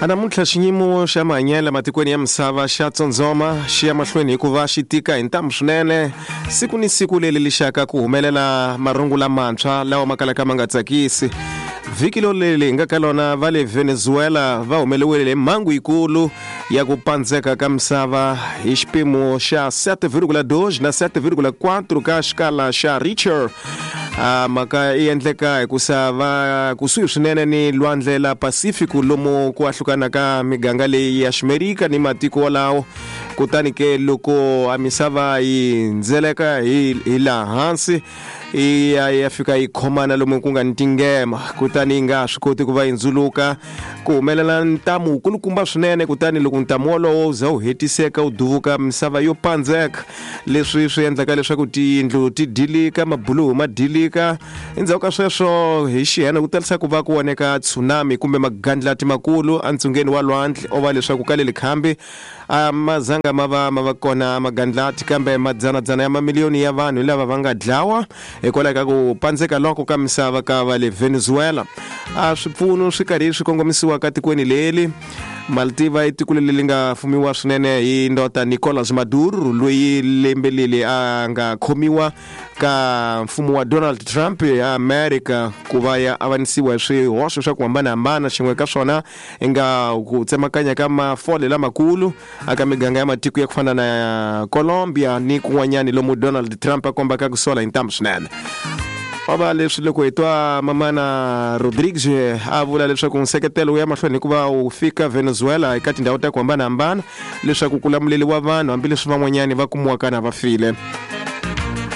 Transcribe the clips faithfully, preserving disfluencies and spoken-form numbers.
Namuntlha xiyimo xa mahanyelo matikweni ya misava xa tsondzoma xi ya mahlweni hikuva xi tika hi ntamu swinene siku ni siku leri lixaka ku humelela marungu lamantshwa lawa ma kalaka ma nga tsakisi. Vhiki loleli hi nga ka lona va le Venezuela va humeleriwile hi mhangu yikulu ya ku pandzeka ka misava hi xipimo xa sete vírgula dois na sete vírgula quatro ka xikala xa Richter. A mhaka yi endleka hikusa va kusuhi swinene ni lwandle la Pacific lomu ku ahlukana ka miganga leyi ya Ximerika ni matiko walawo. Kutani ke loko a misava yi ndzeleka hi hi laha hansi yi ya ya fika yi khomana lomu ku nga ni tingema, kutani yi nga swi koti ku va yi ndzuluka, ku humelela ntamu wukulukumba swinene. Kutani loko ntamu wolowo wu za wu hetiseka wu duvuka, misava yo pandzeka, leswi swi endlaka leswaku tiyindlu ti dilika, mabuluhu ma dilika. Endzhaku ka sweswo hi xihena ku talisa ku va ku voneka tsunami kumbe magandlati makulu entsungeni wa lwandle, o va leswaku ka leli khambi a ma zanga ma va ma va kona magandlati, kambe madzanadzana ya mamiliyoni ya vanhu lava va nga dlawa hikwalaho ka ku pandzeka loko ka misava ka va le Venezuela. A swipfuno swi karhi swi kongomisiwa ka tikweni leri Maltiva i tiko leri nga fumiwa swinene hi ndota Nicolas Maduro, loyi lembe leri a nga khomiwa ka mfumo wa Donald Trump ya America ku va ya avanisiwa hi swihoxo swa ku hambanahambana. Xin'we ka swona i nga ku tsemakanya ka mafole lamakulu aka miganga ya matiko ya ku fana na Colombia ni kun'wanyani lomu Donald Trump a kombaka ku sola hi ntamu swinene. Va leswi loko hi twa mamana Rodriguez a vula leswaku nseketelo wu ya mahlweni hikuva wu fika Venezuela eka tindhawu ta ku hambanahambana leswaku ku lamuleliwa vanhu hambileswi van'wanyani va kumiwaka na va file.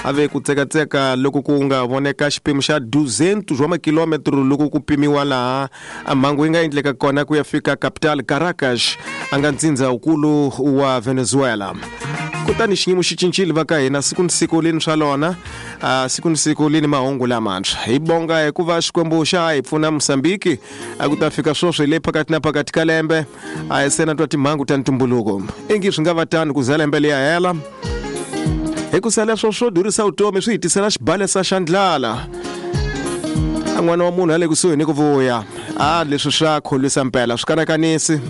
A ve ku tsekatseka loko ku nga voneka xipimo xa duzentos wa makilometro loko ku pimiwa laha a mhangu yi nga endleka kona ku ya fika capital Caracas, a nga ntsindza wukulu wa Venezuela. Kutani xiyimo xi cincile va ka hina siku ni siku lini swa lona, a siku ni siku lini mahungu lamantshwa. Hi bonga hikuva Xikwembu xa hi pfuna Mozambique a ku ta fika sweswi le phakathi na phakathi ka lembe a hi se na twa timhangu ta ntumbuluko. Ingi swi nga va tano ku za lembe liya hela, hikusa leswo swo durhisa vutomi swi hi tisela xibalesa xa ndlala. A n'wana wa munhu a le kusuhi ni ku vuya, a leswi swa kholwisa mpela swi kanakanisi.